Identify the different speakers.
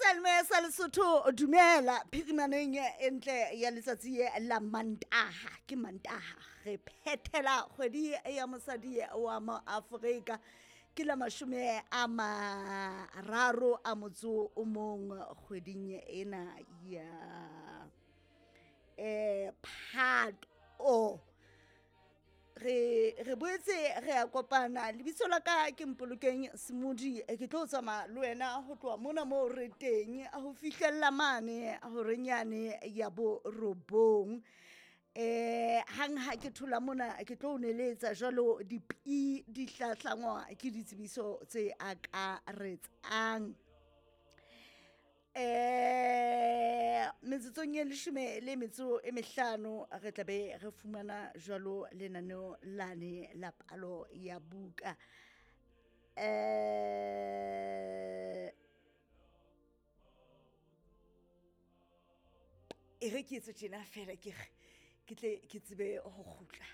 Speaker 1: Seyalemoya sa Lesotho, dumela phirimaneng e ntle ya letsatsi la Mantaha. Ke Mantaha, re phethela kgwedi ya mosadi wa mo Afrika. Ke la 31 kgweding ena ya Phato. Re boetse re a kopana. Lebitso la ka ke Mpolokeng Semodi, ke tlo tsamaya le wena ho tloha mona moo re teng ho fihlella mane horeng yane ya 9. Hang ha ke thola mona ke tlo o neletsa jwalo dipi di hlahlangwa ke ditsebiso tse akaretsang. Metsotsong e 15 re tla be re fumana jwalo lenaneo lane la palo ya buka. E re ke etse tjena feela, ke re ke tle ke tsebe ho kgutla.